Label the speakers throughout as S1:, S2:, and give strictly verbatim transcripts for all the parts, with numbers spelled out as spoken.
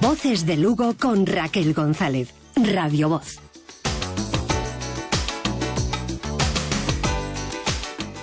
S1: Voces de Lugo con Raquel González. Radio Voz.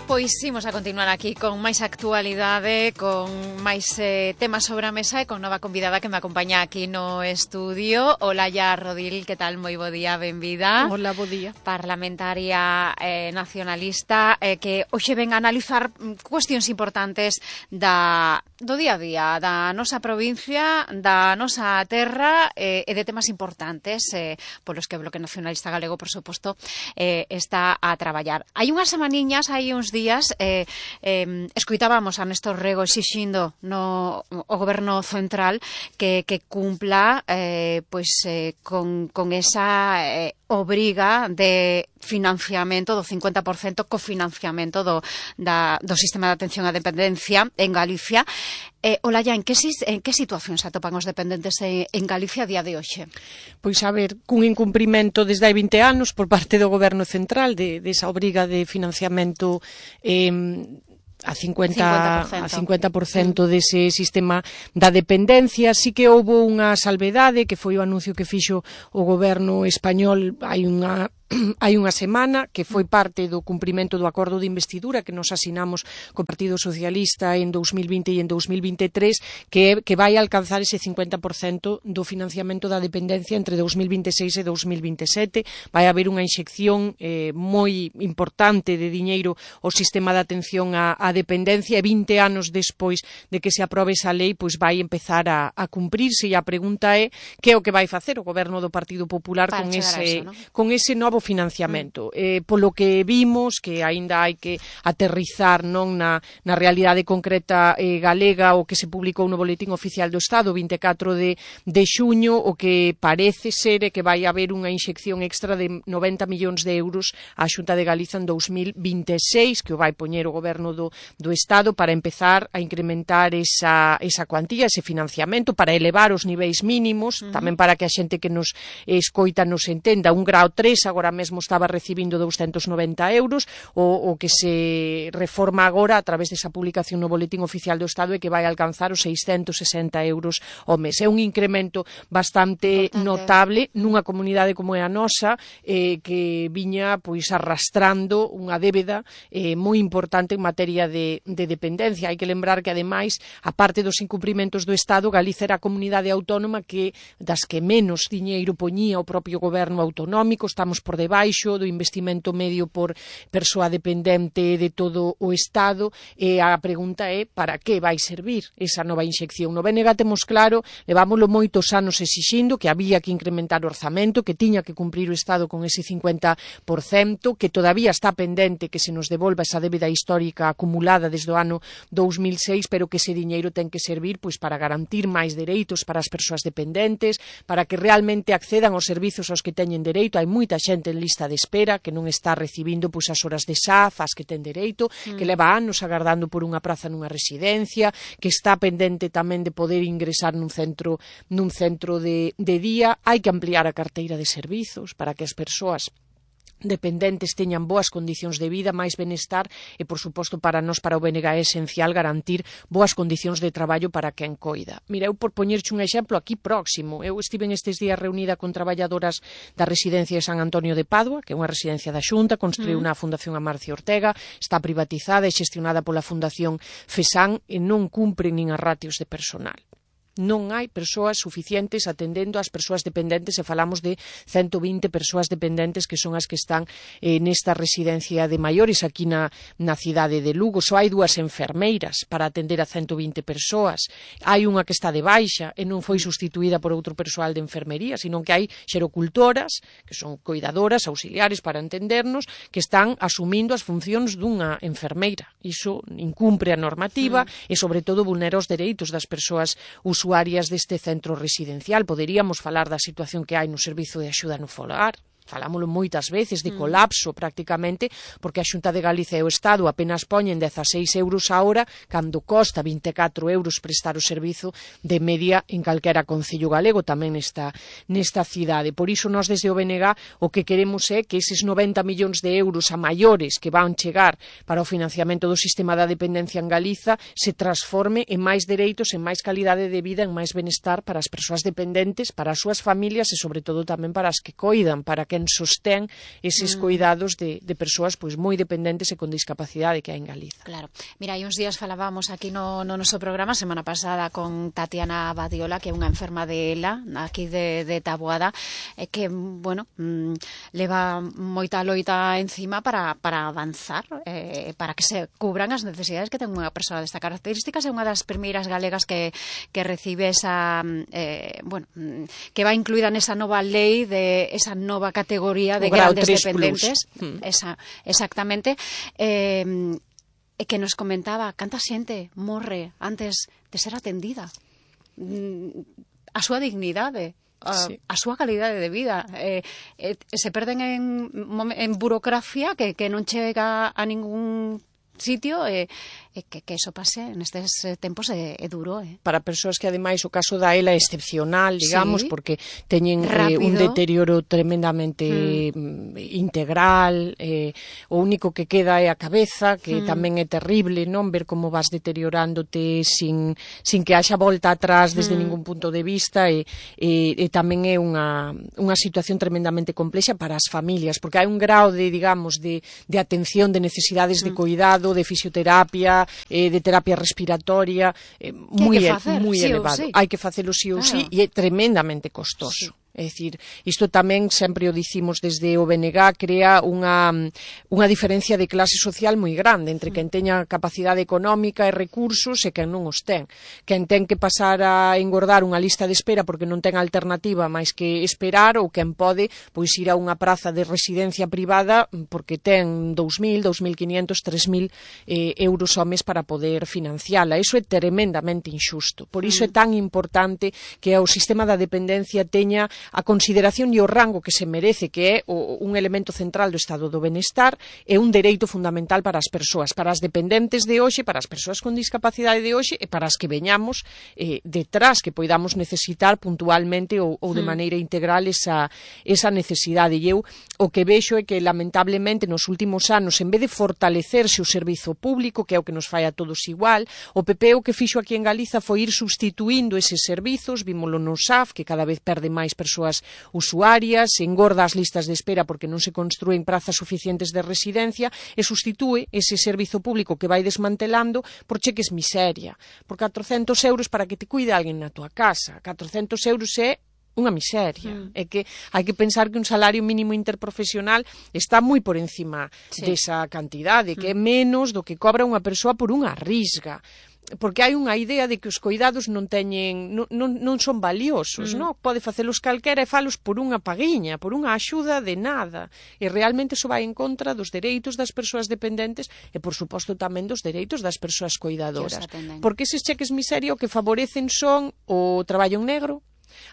S2: Pois imos a continuar aquí con máis actualidade, con máis eh, temas sobre a mesa e con nova convidada que me acompaña aquí no estudio. Olaya Rodil, que tal? Moi bo día, benvida.
S3: Hola, bo día.
S2: Parlamentaria eh, nacionalista eh, que hoxe ven a analizar cuestións importantes da, do día a día, da nosa provincia, da nosa terra eh, e de temas importantes eh, polos que o Bloque Nacionalista Galego, por suposto, eh, está a traballar. Hai unhas semaniñas, hai uns días eh, eh, escoitábamos a Néstor Rego exixindo no o goberno central que, que cumpla eh, pois, eh, con, con esa eh, obriga de financiamento do cincuenta por cento cofinanciamento do, da, do sistema de atención á dependencia en Galicia. Eh, Olaya, en que, en que situación se atopan os dependentes en, en Galicia a día de hoxe?
S3: Pois a ver, cun incumprimento desde hai vinte anos por parte do goberno central de, de esa obriga de financiamento eh, a cincuenta por cento, a cincuenta por cento dese sistema da dependencia. Sí que houve unha salvedade, que foi o anuncio que fixo o goberno español hai unha hai unha semana, que foi parte do cumprimento do acordo de investidura que nos asinamos co Partido Socialista en dous mil vinte e en dous mil vinte e tres, que, que vai alcanzar ese cincuenta por cento do financiamento da dependencia entre dous mil vinte e seis e dous mil vinte e sete. Vai haber unha inxección eh, moi importante de diñeiro ao sistema de atención á, á dependencia, e vinte anos despois de que se aprobe esa lei, pois vai empezar a, a cumprirse, e a pregunta é que é o que vai facer o goberno do Partido Popular con ese, eso, ¿no? con ese novo financiamento. Mm. Eh, polo que vimos, que aínda hai que aterrizar non na, na realidade concreta eh, galega, o que se publicou no Boletín Oficial do Estado vinte e catro de, de xuño, o que parece ser é que vai haber unha inxección extra de noventa millóns de euros á Xunta de Galiza en dous mil vinte e seis, que o vai poñer o goberno do, do Estado para empezar a incrementar esa, esa cuantía, ese financiamento, para elevar os niveis mínimos, uh-huh. tamén para que a xente que nos escoita nos entenda. Un grao tres agora mesmo estaba recibindo douscentos noventa euros, o, o que se reforma agora a través desa publicación no Boletín Oficial do Estado é que vai alcanzar os seiscentos sesenta euros ao mes. É un incremento bastante Importante. notable nunha comunidade como é a nosa, eh, que viña pois arrastrando unha débeda eh, moi importante en materia de, de dependencia. Hai que lembrar que, ademais, a parte dos incumprimentos do Estado, Galicia era a comunidade autónoma que das que menos diñeiro poñía o propio goberno autonómico. Estamos por debaixo do investimento medio por persoa dependente de todo o Estado, e a pregunta é para que vai servir esa nova inxección. No B N G temos claro, levámoslo moitos anos exixindo que había que incrementar o orzamento, que tiña que cumprir o Estado con ese cincuenta por cento, que todavía está pendente que se nos devolva esa débeda histórica acumulada desde o ano dous mil seis, pero que ese diñeiro ten que servir pois para garantir máis dereitos para as persoas dependentes, para que realmente accedan aos servizos aos que teñen dereito. Hai moita xente en lista de espera que non está recibindo pois as horas de S A F as que ten dereito, mm. que leva anos agardando por unha praza nunha residencia, que está pendente tamén de poder ingresar nun centro nun centro de, de día. Hai que ampliar a carteira de servizos para que as persoas dependentes teñan boas condicións de vida, máis benestar, e, por suposto, para nós, para o B N G, é esencial garantir boas condicións de traballo para quen coida. Mira, eu por poñerche un exemplo aquí próximo, eu estive estes días reunida con traballadoras da residencia de San Antonio de Padua, que é unha residencia da Xunta, construiu mm. unha fundación Amarcio Ortega, está privatizada e xestionada pola Fundación FESAN, e non cumpren nin as ratios de personal. Non hai persoas suficientes atendendo ás persoas dependentes, e falamos de ciento vinte persoas dependentes que son as que están eh, nesta residencia de maiores aquí na, na cidade de Lugo. Só hai dúas enfermeiras para atender a ciento vinte persoas. Hai unha que está de baixa e non foi sustituída por outro persoal de enfermería, sino que hai xerocultoras, que son coidadoras, auxiliares para entendernos, que están asumindo as funcións dunha enfermeira. Iso incumpre a normativa mm. e, sobre todo, vulnera os dereitos das persoas usuarias deste centro residencial. Poderíamos falar da situación que hai no servizo de axuda no fogar, falámoslo moitas veces, de colapso prácticamente, porque a Xunta de Galicia e o Estado apenas poñen dezaseis euros a hora, cando costa vinte e catro euros prestar o servizo de media en calquera concello galego, tamén nesta, nesta cidade. Por iso, nós desde o B N G o que queremos é que eses noventa millóns de euros a maiores que van chegar para o financiamento do sistema da dependencia en Galiza se transforme en máis dereitos, en máis calidade de vida, en máis benestar para as persoas dependentes, para as súas familias e, sobre todo, tamén para as que coidan, para quen sostén eses mm. cuidados de, de persoas pois moi dependentes e con discapacidade que hai en Galiza.
S2: Claro. Mira, hai uns días falábamos aquí no, no noso programa, semana pasada, con Tatiana Badiola, que é unha enferma de ELA, aquí de, de Taboada, eh, que, bueno, mmm, leva moita loita encima para, para avanzar, eh, para que se cubran as necesidades que ten unha persoa desta características. É unha das primeiras galegas que, que recibe esa, eh, bueno, que va incluída nesa nova lei de esa nova categoría de grandes dependentes. Mm. Esa, exactamente. Eh, que nos comentaba canta xente morre antes de ser atendida. A súa dignidade, a, sí. a súa calidade de vida. Eh, eh, se perden en, en burocracia que, que non chega a ningún sitio, e eh, que, que eso pase nestes tempos é, é duro. Eh.
S3: Para persoas que, ademais, o caso da ELA é excepcional, digamos, sí, porque teñen eh, un deterioro tremendamente mm. integral, eh, o único que queda é a cabeza, que mm. tamén é terrible, non? Ver como vas deteriorándote sin, sin que haxa volta atrás desde mm. ningún punto de vista, e, e, e tamén é unha, unha situación tremendamente complexa para as familias, porque hai un grao de, digamos, de, de atención, de necesidades mm. de cuidado, de fisioterapia, eh, de terapia respiratoria, eh, moi, moi sí elevado. Sí. Hai que facelo sí ou sí, e é tremendamente costoso. Sí. É dicir, isto tamén sempre o dicimos desde o B N G, crea unha, unha diferencia de clase social moi grande entre quen teña capacidade económica e recursos e quen non os ten. Quen ten que pasar a engordar unha lista de espera porque non ten alternativa máis que esperar, ou quen pode pois ir a unha praza de residencia privada porque ten dous mil, dous mil quinhentos, tres mil eh, euros ao mes para poder financiala. Iso é tremendamente injusto. Por iso é tan importante que o sistema da dependencia teña a consideración e o rango que se merece, que é o, un elemento central do estado do benestar, é un dereito fundamental para as persoas, para as dependentes de hoxe, para as persoas con discapacidade de hoxe e para as que veñamos eh, detrás, que poidamos necesitar puntualmente ou, ou de maneira integral esa, esa necesidade. E eu o que vexo é que, lamentablemente, nos últimos anos, en vez de fortalecerse o servizo público, que é o que nos fai a todos igual, o P P o que fixo aquí en Galiza foi ir substituindo eses servizos, vímolo no S A F, que cada vez perde máis persoas usuarias, engorda as listas de espera porque non se construen prazas suficientes de residencia, e sustitúe ese servizo público que vai desmantelando por cheques miseria, por catrocentos euros para que te cuide alguén na tua casa. catrocentos euros é unha miseria. Mm. É que hai que pensar que un salario mínimo interprofesional está moi por encima sí. desa cantidade, que mm. é menos do que cobra unha persoa por unha risga. Porque hai unha idea de que os coidados non teñen, non, non, non son valiosos, mm. non? Pode facelos calquera e falos por unha paguiña, por unha axuda de nada. E realmente iso vai en contra dos dereitos das persoas dependentes e, por suposto, tamén dos dereitos das persoas coidadoras. Porque eses cheques miseria o que favorecen son o traballo en negro,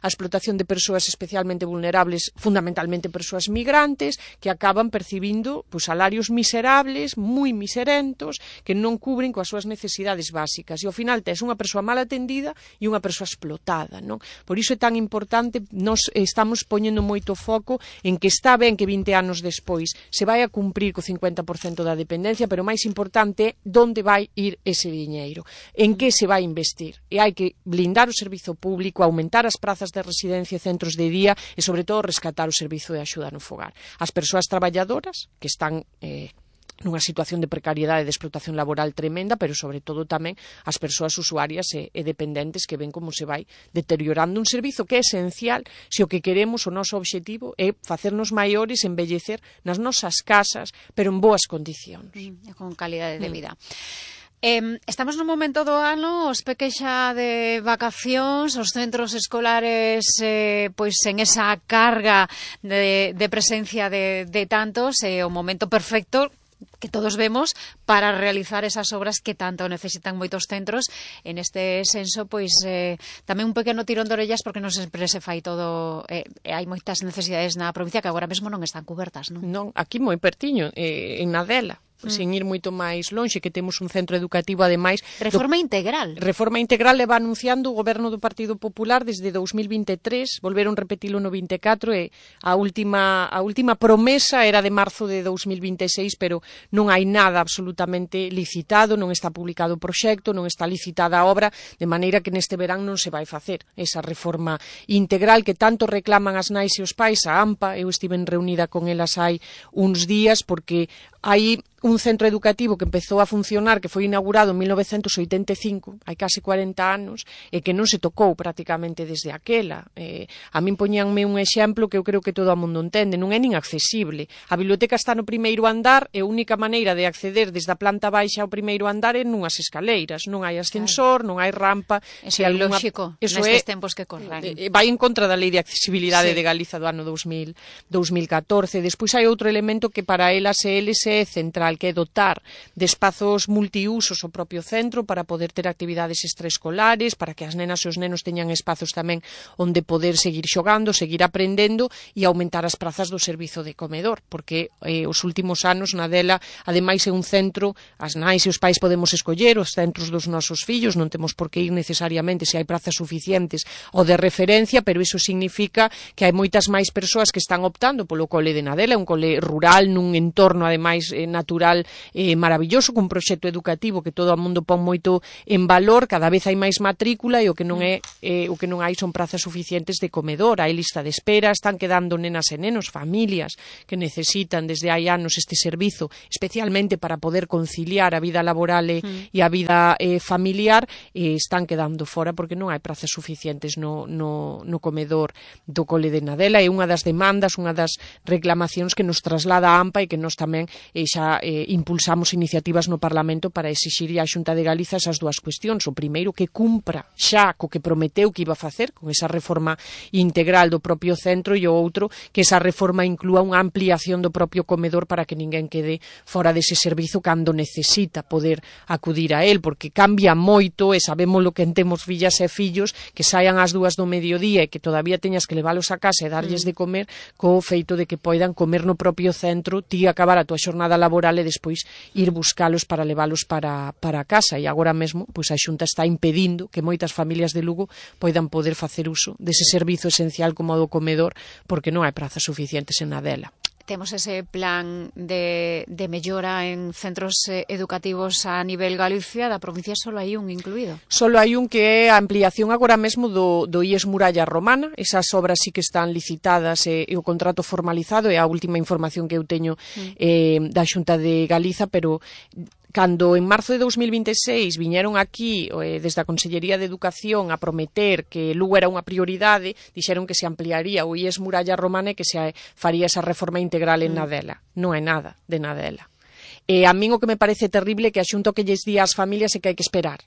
S3: a explotación de persoas especialmente vulnerables, fundamentalmente persoas migrantes, que acaban percibindo pues, salarios miserables, moi miserentos, que non cubren coas súas necesidades básicas. E ao final tes unha persoa mal atendida e unha persoa explotada, non? Por iso é tan importante, nós estamos poñendo moito foco en que está ben que vinte anos despois se vai a cumprir co cincuenta por cento da dependencia, pero o máis importante é onde vai ir ese diñeiro, en que se vai investir. E hai que blindar o servizo público, aumentar as prazas de residencia e centros de día e, sobre todo, rescatar o servizo de axuda no fogar. As persoas traballadoras que están eh, nunha situación de precariedade e de explotación laboral tremenda, pero, sobre todo, tamén as persoas usuarias e, e dependentes que ven como se vai deteriorando un servizo que é esencial se o que queremos, o noso obxectivo, é facernos maiores, embellecer nas nosas casas, pero en boas condicións.
S2: Mm, con calidade de vida. Mm. Eh, estamos nun momento do ano, os peques xa de vacacións, os centros escolares eh, pois en esa carga de, de presencia de, de tantos, é eh, o momento perfecto que todos vemos para realizar esas obras que tanto necesitan moitos centros. En este senso, pois eh, tamén un pequeno tirón de orellas porque non sempre se fai todo, eh, hai moitas necesidades na provincia que agora mesmo non están cubertas, non?
S3: Non, aquí moi pertiño, eh, en Nadela. Sen ir moito máis lonxe, que temos un centro educativo, ademais...
S2: Reforma
S3: do,
S2: integral.
S3: Reforma integral leva anunciando o goberno do Partido Popular desde dous mil vinte e tres, volveron repetilo no vinte e catro, e a última, a última promesa era de marzo de dous mil vinte e seis, pero non hai nada absolutamente licitado, non está publicado o proxecto, non está licitada a obra, de maneira que neste verán non se vai facer esa reforma integral que tanto reclaman as nais e os pais, a AMPA. Eu estive reunida con elas hai uns días, porque hai un centro educativo que empezou a funcionar, que foi inaugurado en mil novecentos oitenta e cinco, hai case cuarenta anos, e que non se tocou prácticamente desde aquela. Eh, a min poñíanme un exemplo que eu creo que todo o mundo entende, non é nin accesible. A biblioteca está no primeiro andar e a única maneira de acceder desde a planta baixa ao primeiro andar é nunhas escaleiras, non hai ascensor, claro, non hai rampa.
S2: Eso é alguna... lógico, nestes tempos que corren.
S3: Eh, vai en contra da Lei de Accesibilidade
S2: sí.
S3: de Galiza do ano dous mil catorce. Despois hai outro elemento que para elas e eles é central, que é dotar de espazos multiusos o propio centro para poder ter actividades extraescolares, para que as nenas e os nenos teñan espazos tamén onde poder seguir xogando, seguir aprendendo e aumentar as prazas do servizo de comedor, porque eh, os últimos anos na Dela, ademais é un centro, as nais e os pais podemos escoller os centros dos nosos fillos, non temos por que ir necesariamente se hai prazas suficientes ou de referencia, pero iso significa que hai moitas máis persoas que están optando polo cole de Nadela, un cole rural nun entorno ademais eh, natural eh, maravilloso, cun proxecto educativo que todo o mundo pon moito en valor. Cada vez hai máis matrícula e o que non é eh, o que non hai son prazas suficientes de comedor, hai lista de espera, están quedando nenas e nenos, familias que necesitan desde hai anos este servizo, especialmente para poder conciliar a vida laboral e, mm. e a vida eh, familiar, e están quedando fora porque non hai prazas suficientes no, no, no comedor do cole de Nadela. É unha das demandas, unha das reclamacións que nos traslada a AMPA e que nos tamén eh, xa eh, impulsamos iniciativas no Parlamento para exixir á Xunta de Galiza esas dúas cuestións. O primeiro, que cumpra xa co que prometeu que iba a facer con esa reforma integral do propio centro, e o outro, que esa reforma inclúa unha ampliación do propio comedor para que ninguén quede fora dese servizo cando necesita poder acudir a él, porque cambia moito e sabemos lo que temos fillas e fillos que saian ás dúas do mediodía e que todavía teñas que leválos a casa e darlles de comer, co feito de que poidan comer no propio centro, ti acabar a tua xornada laboral e despois ir buscalos para leválos para, para casa. E agora mesmo pois a Xunta está impedindo que moitas familias de Lugo poidan poder facer uso dese servizo esencial como o do comedor, porque non hai prazas suficientes en Nadela.
S2: Temos ese plan de, de mellora en centros eh, educativos a nivel Galicia, da provincia só hai un incluído.
S3: Solo hai un, que é a ampliación agora mesmo do, do I E S Muralla Romana. Esas obras sí que están licitadas e, e o contrato formalizado, é a última información que eu teño eh, da Xunta de Galiza, pero cando en marzo de dous mil vinte e seis viñeron aquí eh, desde a Consellería de Educación a prometer que Lugo era unha prioridade, dixeron que se ampliaría o I E S Muralla Romana e que se faría esa reforma integral en Nadela. Non é nada de Nadela. E a min o que me parece terrible é que a Xunta que lles di ás familias é que hai que esperar,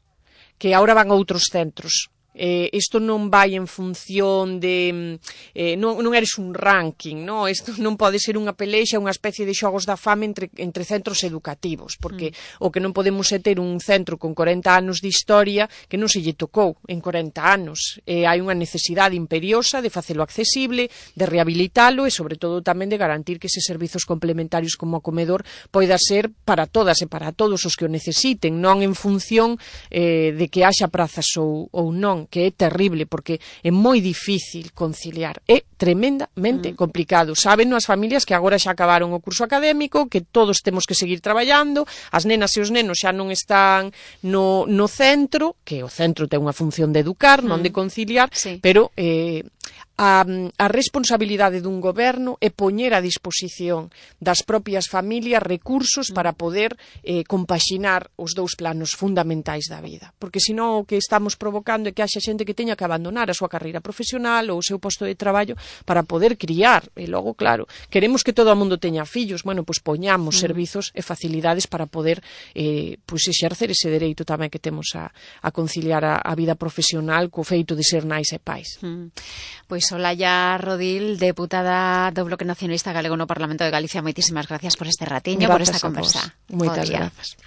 S3: que agora van a outros centros. Eh, isto non vai en función de eh, non, non eres un ranking, no? Isto non pode ser unha pelexa, unha especie de xogos da fame entre, entre centros educativos, porque mm. o que non podemos é ter un centro con corenta anos de historia que non se lle tocou en corenta anos. Eh, hai unha necesidade imperiosa de facelo accesible, de rehabilitalo e sobre todo tamén de garantir que eses servizos complementarios como o comedor poida ser para todas e para todos os que o necesiten, non en función eh, de que haxa prazas ou, ou non, que é terrible, porque é moi difícil conciliar, é tremendamente mm. complicado. Saben as familias que agora xa acabaron o curso académico, que todos temos que seguir traballando, as nenas e os nenos xa non están no, no centro, que o centro ten unha función de educar, mm. non de conciliar, sí. pero eh, a, a responsabilidade dun goberno é poñer a disposición das propias familias recursos mm. para poder eh, compaxinar os dous planos fundamentais da vida, porque senón o que estamos provocando é que haxa xente que teña que abandonar a súa carreira profesional ou o seu posto de traballo para poder criar, e logo, claro, queremos que todo o mundo teña fillos, bueno, pois poñamos mm. servizos e facilidades para poder eh, pois exercer ese dereito tamén que temos a, a conciliar a, a vida profesional co feito de ser nais e pais.
S2: Mm. Pois Pois Olaya Rodil, deputada do Bloque Nacionalista Galego no Parlamento de Galicia, moitísimas gracias por este ratiño, por esta conversa.
S3: Moitas grazas.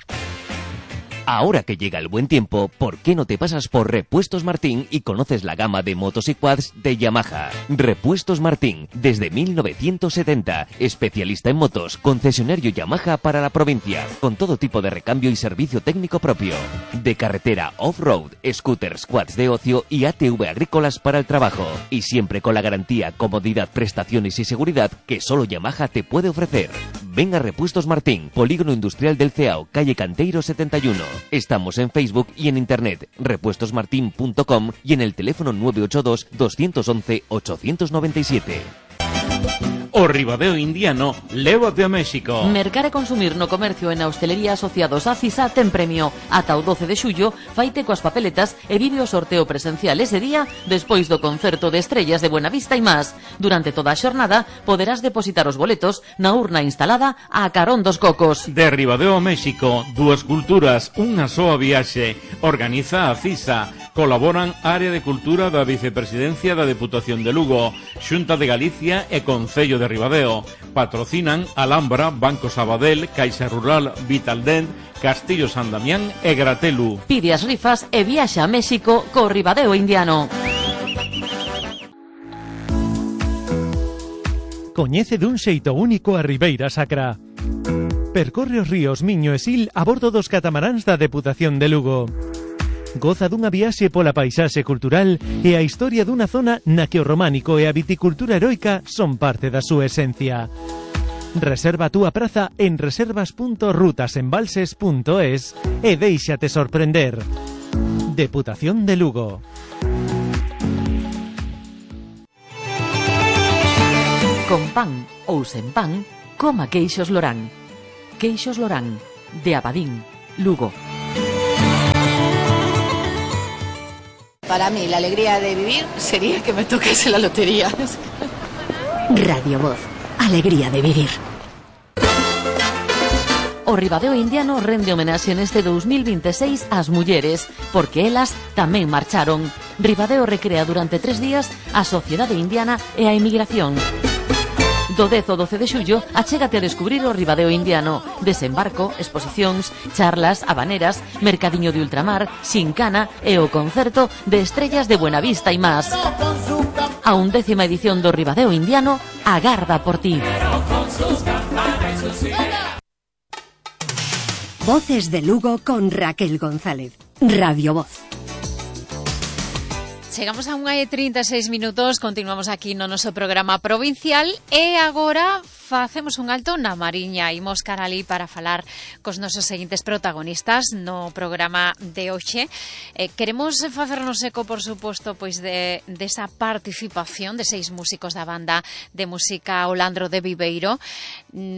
S4: Ahora que llega el buen tiempo, ¿por qué no te pasas por Repuestos Martín y conoces la gama de motos y quads de Yamaha? Repuestos Martín, desde mil novecientos setenta, especialista en motos, concesionario Yamaha para la provincia, con todo tipo de recambio y servicio técnico propio. De carretera off-road, scooters, quads de ocio y A T V agrícolas para el trabajo. Y siempre con la garantía, comodidad, prestaciones y seguridad que solo Yamaha te puede ofrecer. Ven a Repuestos Martín, Polígono Industrial del Ceao, calle Canteiro setenta y uno. Estamos en Facebook y en internet, repuestos martin punto com y en el teléfono nueve ocho dos, dos once, ocho nueve siete.
S5: O Ribadeo Indiano, lévate a México.
S6: Mercar e consumir no comercio e na hostelería asociados a CISA ten premio. Ata o doce de xullo, faite coas papeletas e vive o sorteo presencial ese día despois do concerto de estrellas de Buenavista e más. Durante toda a xornada poderás depositar os boletos na urna instalada a carón dos cocos.
S5: De Ribadeo a México, dúas culturas, unha soa viaxe. Organiza a CISA. Colaboran Área de Cultura da Vicepresidencia da Deputación de Lugo, Xunta de Galicia e Concello de Ribadeo. Patrocinan Alhambra, Banco Sabadell, Caixa Rural, Vitaldent, Castillo San Damián e Gratelu.
S6: Pide as rifas e viaxa a México co Ribadeo Indiano.
S7: Coñece dun xeito único a Ribeira Sacra. Percorre os ríos Miño e Sil a bordo dos catamaráns da Deputación de Lugo. Goza dunha viaxe pola paisaxe cultural e a historia dunha zona na que o románico e a viticultura heroica son parte da súa esencia. Reserva a túa praza en reservas punto rutasembalses punto es e déixate sorprender. Deputación de Lugo.
S6: Con pan ou sen pan, coma queixos Lorán. Queixos Lorán, de Abadín, Lugo.
S8: Para mí, la alegría de vivir sería que me tocase la lotería.
S1: Radio Voz, alegría de vivir.
S6: O Ribadeo Indiano rende homenaxe neste dous mil vinte e seis ás mulleres, porque elas tamén marcharon. Ribadeo recrea durante tres días a sociedade indiana e a emigración. Do dez ao doce de xullo, achégate a descubrir o Ribadeo Indiano. Desembarco, exposicións, charlas, habaneras, mercadiño de ultramar, xincana e o concerto de estrellas de Buenavista e más. A undécima edición do Ribadeo Indiano agarda por ti.
S1: Voces de Lugo con Raquel González. Radio Voz.
S2: Chegamos a unha e trinta e seis minutos, continuamos aquí no noso programa provincial e agora facemos un alto na Mariña. Imos cara ali para falar cos nosos seguintes protagonistas no programa de hoxe. Eh, queremos facernos eco, por suposto, pois de desa de participación de seis músicos da banda de música Olandro de Viveiro,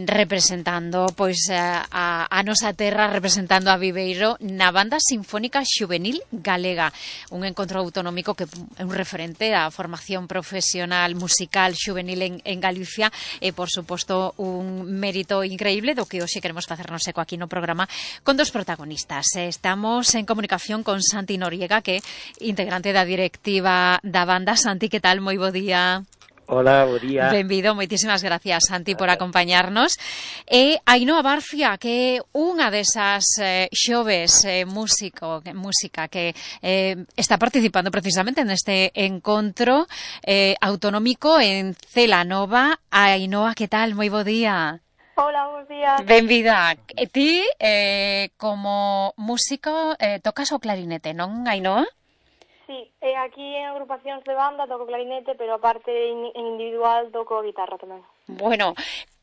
S2: representando pois a, a nosa terra, representando a Viveiro na banda sinfónica xuvenil galega, un encontro autonómico que é un referente da formación profesional musical xuvenil en, en Galicia e, por suposto, un mérito increíble do que hoxe queremos facernos eco aquí no programa con dos protagonistas. Estamos en comunicación con Santi Noriega, que é integrante da directiva da banda. Santi, que tal? Moi bo día.
S9: Hola, bo día.
S2: Benvido, moitísimas gracias, Santi, por acompañarnos. E Ainhoa Barcia, que é unha desas eh, xoves eh, músico, música que eh, está participando precisamente neste encontro eh, autonómico en Celanova. Ainhoa, que tal? Moi bo día.
S10: Hola, bons días.
S2: Benvida. E ti, eh, como músico, eh, tocas o clarinete, non, Ainhoa?
S10: Sí, eh, aquí en agrupacións de banda toco clarinete, pero aparte en individual toco guitarra tamén.
S2: Bueno,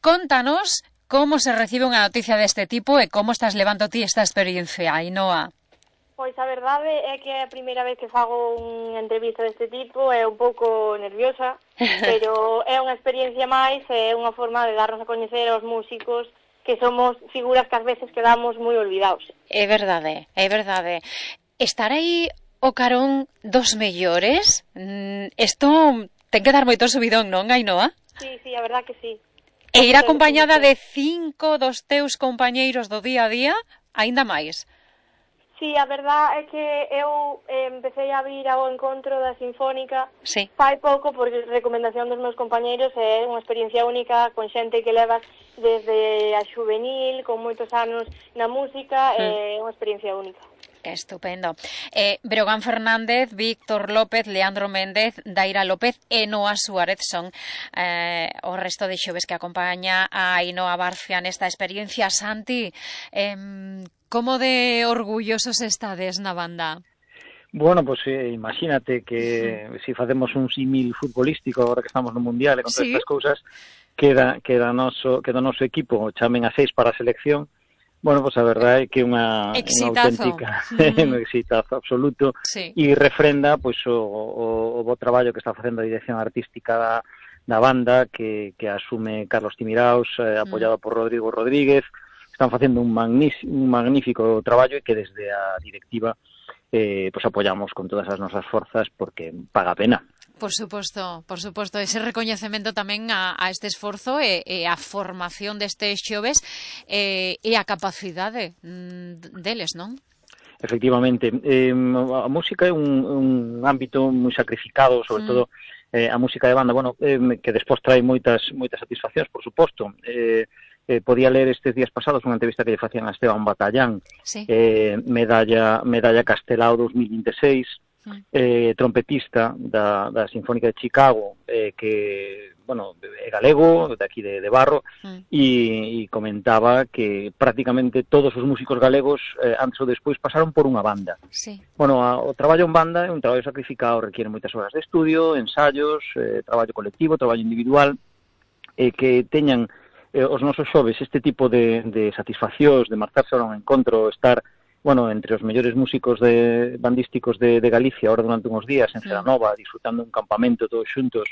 S2: contanos como se recibe unha noticia deste tipo e como estás levando ti esta experiencia, Ainhoa.
S10: Pois a verdade é que é a primeira vez que fago unha entrevista deste tipo, é un pouco nerviosa, pero é unha experiencia máis, é unha forma de darnos a coñecer aos músicos que somos figuras que ás veces quedamos moi olvidados.
S2: É verdade, é verdade. Estar aí o carón dos mellores, isto ten que dar moito subidón, non, Ainhoa?
S10: Sí, sí, a verdad que sí.
S2: E ir acompañada de cinco dos teus compañeiros do día a día, aínda máis.
S10: Sí, a verdad é que eu eh, empecé a vir ao encontro da Sinfónica
S2: sí.
S10: fai pouco por recomendación dos meus compañeiros, é unha experiencia única con xente que levas desde a juvenil, con moitos anos na música, é mm. unha experiencia única.
S2: Estupendo. Eh, Breogán Fernández, Víctor López, Leandro Méndez, Daira López e Noa Suárez son eh, o resto de xoves que acompaña a Ainhoa Barcia nesta experiencia. Santi, eh, como de orgullosos estades na banda?
S9: Bueno, pues eh, imagínate que se si facemos un símil futbolístico agora que estamos no Mundial e con todas ¿Sí? estas cousas, queda, queda noso, queda noso equipo, chamen a seis para a selección. Bueno, pues a verdade é que é unha, unha auténtica, mm. un exitazo absoluto sí. e refrenda pois o, o, o bo traballo que está facendo a dirección artística da, da banda que, que asume Carlos Timiraos, eh, apoiado mm. por Rodrigo Rodríguez. Están facendo un, un magnífico traballo e que desde a directiva eh, pues apoiamos con todas as nosas forzas porque paga a pena.
S2: Por suposto, por suposto, ese recoñecemento tamén a, a este esforzo e, e a formación destes xoves e, e a capacidade deles, non?
S9: Efectivamente, eh, a música é un, un ámbito moi sacrificado, sobre mm. todo eh, a música de banda, bueno, eh, que despois trae moitas moitas satisfaccións, por suposto. Eh, eh, podía ler estes días pasados unha entrevista que lle facían a Esteban Batallán, sí. eh, medalla medalla Castelao dos mil veintiséis, eh, trompetista da, da Sinfónica de Chicago, eh, que, bueno, é galego, de aquí de, de Barro, mm. e, e comentaba que prácticamente todos os músicos galegos, eh, antes ou despois, pasaron por unha banda.
S2: Sí.
S9: Bueno, a, o traballo en banda é un traballo sacrificado, requiere moitas horas de estudio, ensayos, eh, traballo colectivo, traballo individual, e eh, que teñan eh, os nosos xoves este tipo de, de satisfaccións, de marcharse a un encontro, estar bueno, entre os mellores músicos de bandísticos de, de Galicia, ahora durante uns días en Celanova, disfrutando un campamento todos xuntos,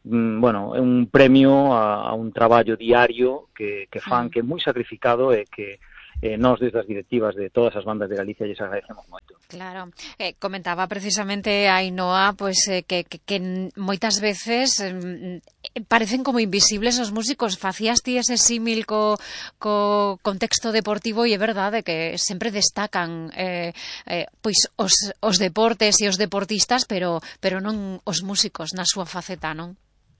S9: mm, bueno, é un premio a, a un traballo diario que, que fan, que é moi sacrificado e que eh, nós desde as directivas de todas as bandas de Galicia lles agradecemos moito.
S2: Claro, eh, comentaba precisamente a Ainhoa pues, eh, que, que, que moitas veces eh, parecen como invisibles os músicos. Facías ti ese símil co, co contexto deportivo e é verdade que sempre destacan eh, eh, pois os, os deportes e os deportistas, pero, pero non os músicos na súa faceta, non?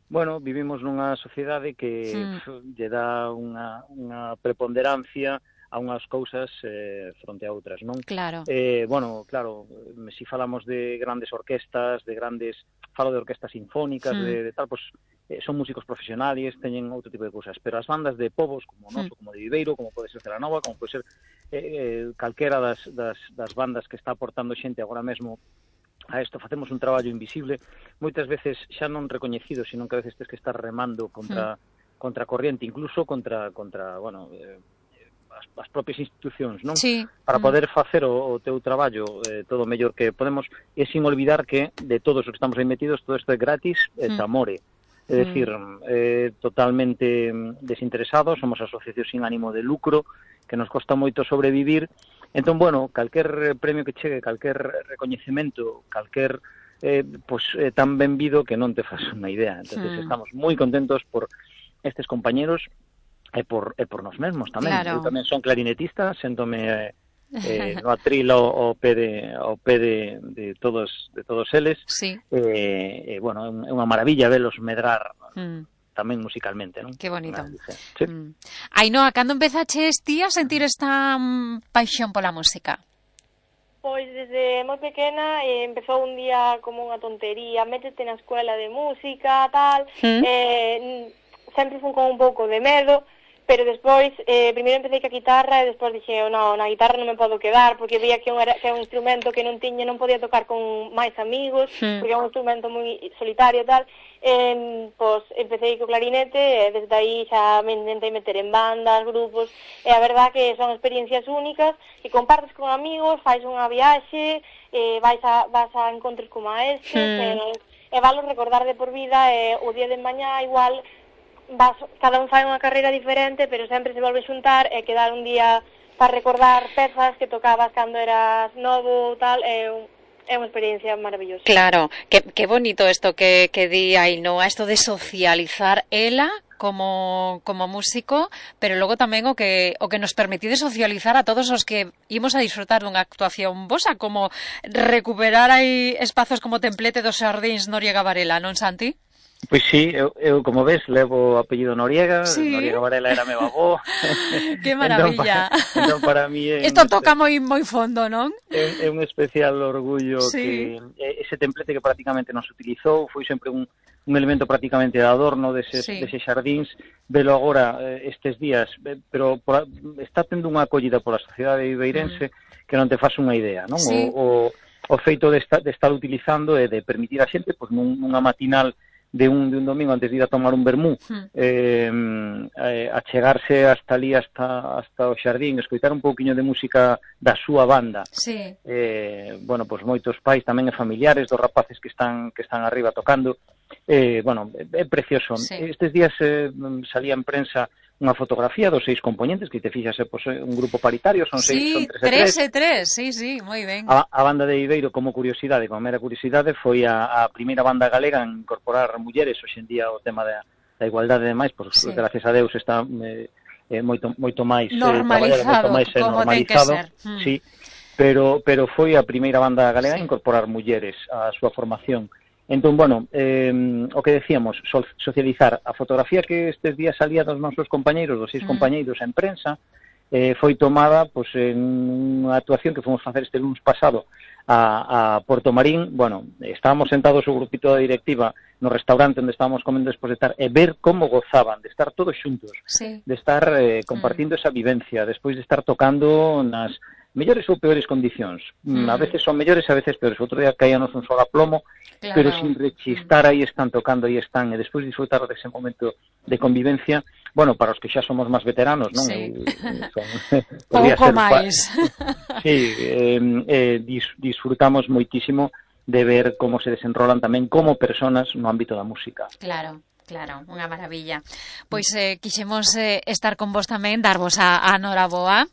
S9: Bueno, vivimos nunha sociedade que mm. lle dá unha, unha preponderancia a unhas cousas eh, fronte a outras, non?
S2: Claro.
S9: Eh, bueno, claro, se si falamos de grandes orquestas, de grandes, falo de orquestas sinfónicas, mm. de, de tal, pues eh, son músicos profesionales, teñen outro tipo de cousas, pero as bandas de povos, como noso, mm. como de Viveiro, como pode ser Celanova, como pode ser eh, calquera das, das, das bandas que está aportando xente agora mesmo a isto, facemos un traballo invisible, moitas veces xa non recoñecido, sino que a veces tes que estar remando contra, mm. contra corriente, incluso contra, contra bueno, eh, as, as propias institucións, non?
S2: Sí.
S9: Para poder facer o, o teu traballo eh, todo o mellor que podemos, e sin olvidar que de todos os que estamos aí metidos, todo isto é gratis, é mm. amore. É dicir, eh, totalmente desinteresados, somos asociación sin ánimo de lucro, que nos costa moito sobrevivir. Entón, bueno, calquer premio que chegue, calquer recoñecemento, calquer eh, pues, eh, tan benvido que non te fas unha idea. Entonces, mm. estamos moi contentos por estes compañeros e por, e por nos mesmos tamén.
S2: Claro.
S9: Eu tamén son clarinetista, séntome eh, no atril ao pé de, ao pé de, de todos de todos eles.
S2: Sí.
S9: Eh, eh, bueno, é unha maravilla velos medrar mm. tamén musicalmente, non?
S2: Que bonito.
S9: Sí.
S2: Mm. Ainhoa, cando empezaches ti a sentir esta um, paixón pola música?
S10: Pois desde moi pequena eh, empezou un día como unha tontería, métete na escuela de música, tal, mm. eh, sempre fun con un pouco de medo, pero despois, eh, primeiro empecé ca guitarra e despois dixe, no, na guitarra non me podo quedar, porque veía que, un era, que é un instrumento que non tiña, non podía tocar con máis amigos, mm. porque é un instrumento moi solitario e tal. Eh, pois empecé co clarinete e desde aí xa me intentei meter en bandas, grupos, e a verdad que son experiencias únicas que compartes con amigos, fais unha viaxe, eh, vais a, vas a encontros como a este, mm. e, e valo recordar de por vida, e o día de mañá igual vas, cada un fai unha carreira diferente, pero sempre se volve xuntar e quedar un día para recordar pezas que tocabas cando eras novo, tal, é un É unha experiencia maravillosa.
S2: Claro, que, que bonito isto que, que di Ainhoa, isto de socializar ela como, como músico, pero logo tamén o que o que nos permitide socializar a todos os que imos a disfrutar dunha actuación vosa, como recuperar aí espazos como Templete dos Xardíns Noriega Varela, non, Santi?
S9: Pois sí, eu, eu como ves levo o apellido Noriega,
S2: sí.
S9: Noriega Varela era meu avó.
S2: Que maravilla.
S9: Entón, para, entón para mí
S2: isto toca moi moi fondo, non?
S9: É, é un especial orgullo
S2: sí.
S9: que ese templete que prácticamente non se utilizou, foi sempre un, un elemento prácticamente de adorno deses, sí. deses xardíns, velo agora estes días, pero por, está tendo unha acollida pola sociedade ibeirense mm. que non te faz unha idea, non?
S2: Sí.
S9: O, o, o feito de, esta, de estar utilizando e de permitir a xente, pois, nun, nunha matinal de un, de un domingo antes de ir a tomar un vermú, hmm. eh, eh, a chegarse hasta ali, hasta, hasta o xardín, escoitar un pouquiño de música da súa banda.
S2: Sí.
S9: Eh, bueno, pois moitos pais tamén e familiares dos rapaces que están que están arriba tocando. Eh, bueno, é precioso. Sí. Estes días eh, salía en prensa unha fotografía dos seis componentes, que te fixas, eh, pues, un grupo paritario, son
S2: sí,
S9: seis, son tres
S2: e tres. tres, sí, sí, moi ben.
S9: A, a banda de Ibeiro, como curiosidade, como mera curiosidade, foi a, a primeira banda galega en incorporar mulleres, hoxe en día o tema da, da igualdade e demais, pois, sí. gracias a Deus está eh, eh, moito, moito máis
S2: normalizado,
S9: eh, moito máis, eh,
S2: como
S9: normalizado,
S2: ten que ser. Hmm.
S9: Sí, pero, pero foi a primeira banda galega sí. a incorporar mulleres á súa formación. Entón, bueno, eh, o que decíamos, so, socializar a fotografía que estes días salía dos nosos compañeiros, dos seis mm. compañeiros en prensa, eh, foi tomada pues, en unha actuación que fomos facer este lunes pasado a, a Porto Marín. Bueno, estábamos sentados o grupito da directiva no restaurante onde estábamos comendo despois de estar, e ver como gozaban de estar todos xuntos,
S2: sí.
S9: de estar eh, compartindo mm. esa vivencia, despois de estar tocando nas mellores ou peores condicións. Mm. A veces son mellores, a veces peores. Outro día caíanos un sola plomo, claro. pero sin rechistar, aí están tocando, aí están, e despois disfrutar dese momento de convivencia. Bueno, para os que xa somos máis veteranos, non?
S2: Sí.
S9: Eh, son,
S2: pouco máis.
S9: Sí, eh, eh, dis, disfrutamos moitísimo de ver como se desenrolan tamén como personas no ámbito da música.
S2: Claro. Claro, unha maravilla. Pois eh, quixemos eh, estar con vos tamén, darvos a, a noraboa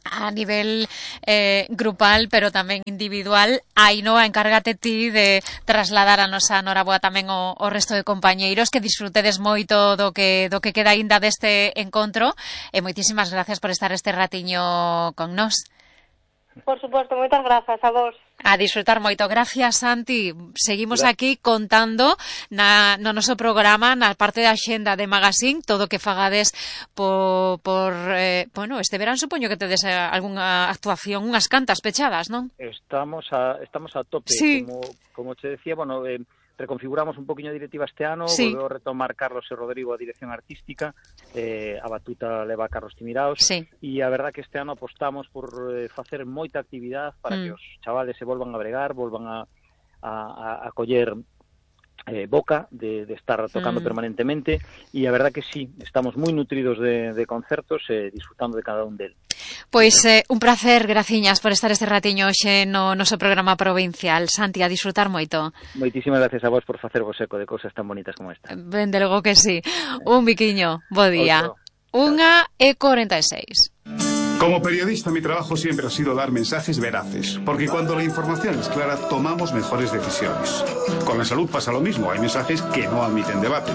S2: a nivel eh, grupal, pero tamén individual. Ainhoa, encárgate ti de trasladar a nosa noraboa tamén o, o resto de compañeiros, que disfrutedes moito do que, do que queda aínda deste encontro, e moitísimas gracias por estar este ratiño con nós.
S10: Por suposto, moitas grazas a vos.
S2: A disfrutar moito. Gracias, Santi. Seguimos Gracias. Aquí contando na, no noso programa, na parte da xenda de Magazine, todo o que fagades por, por eh, bueno, este verán supoño que tedes algunha actuación, unhas cantas pechadas, non?
S9: Estamos a, estamos a tope,
S2: sí.
S9: como, como te decía, bueno, eh, reconfiguramos un poquinho a directiva este ano,
S2: sí.
S9: volveu a retomar Carlos e Rodrigo a dirección artística, eh, a batuta leva a Carlos Timiraos,
S2: sí.
S9: e a verdad que este ano apostamos por eh, facer moita actividade para mm. que os chavales se volvan a bregar, volvan a, a, a coller eh, boca de, de estar tocando mm. permanentemente, e a verdad que sí, estamos moi nutridos de, de concertos e eh, disfrutando de cada un del.
S2: Pois eh, un placer, graciñas por estar este ratiño hoxe no noso programa provincial. Santi, a disfrutar moito.
S9: Moitísimas gracias a vos por facer vos eco de cousas tan bonitas como esta.
S2: Ben, de logo que sí. Un biquiño, bo día. Unha e cuarenta e seis.
S11: Como periodista, mi trabajo siempre ha sido dar mensajes veraces, porque cuando la información es clara, tomamos mejores decisiones. Con la salud pasa lo mismo, hay mensajes que no admiten debate.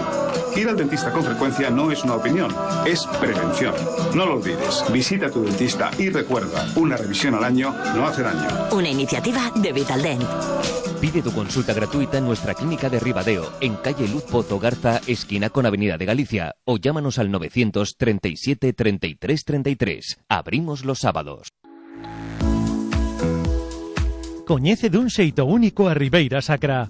S11: Ir al dentista con frecuencia no es una opinión, es prevención. No lo olvides, visita a tu dentista y recuerda, una revisión al año no hace daño.
S1: Una iniciativa de Vitaldent.
S4: Pide tu consulta gratuita en nuestra clínica de Ribadeo, en calle Luz Pozo Garza, esquina con Avenida de Galicia, o llámanos al novecientos treinta y siete treinta y tres treinta y tres. Abrimos los sábados.
S7: Coñece dun xeito único a Ribeira Sacra.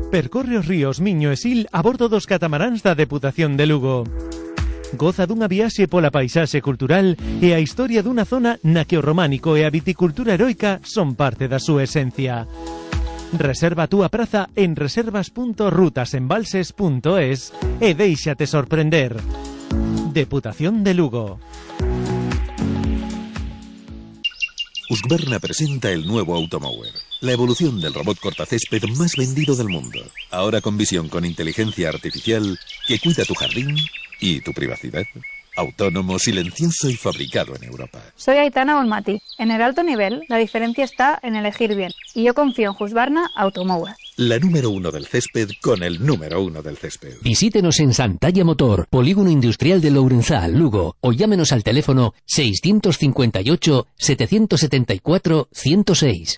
S7: Percorre os ríos Miño e Sil a bordo dos catamaráns da Deputación de Lugo. Goza dunha viaxe pola paisaxe cultural e a historia dunha zona na que o románico e a viticultura heroica son parte da súa esencia. Reserva a túa praza en reservas punto rutasembalses punto es e déixate sorprender. Deputación de Lugo.
S12: Husqvarna presenta el nuevo Automower, la evolución del robot cortacésped más vendido del mundo. Ahora con visión con inteligencia artificial que cuida tu jardín y tu privacidad. Autónomo, silencioso y fabricado en Europa.
S13: Soy Aitana Bonmati. En el alto nivel, la diferencia está en elegir bien. Y yo confío en Husqvarna Automower.
S12: La número uno del césped con el número uno del césped.
S13: Visítenos en Santalla Motor, Polígono Industrial de Lourenzá, Lugo, o llámenos al teléfono seiscientos cincuenta y ocho, setecientos setenta y cuatro, ciento seis.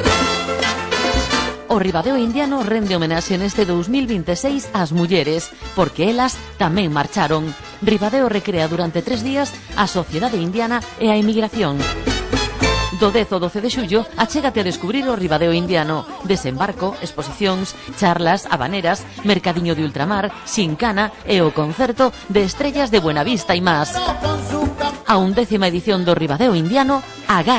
S6: O Ribadeo Indiano rende homenaxe neste dos mil vinte e seis ás mulleres, porque elas tamén marcharon. Ribadeo recrea durante tres días a sociedade indiana e a emigración. Do dez ao doce de xullo, achégate a descubrir o Ribadeo Indiano. Desembarco, exposicións, charlas, habaneras, mercadiño de ultramar, xincana e o concerto de Estrellas de Buenavista e más. A undécima edición do Ribadeo Indiano, agarra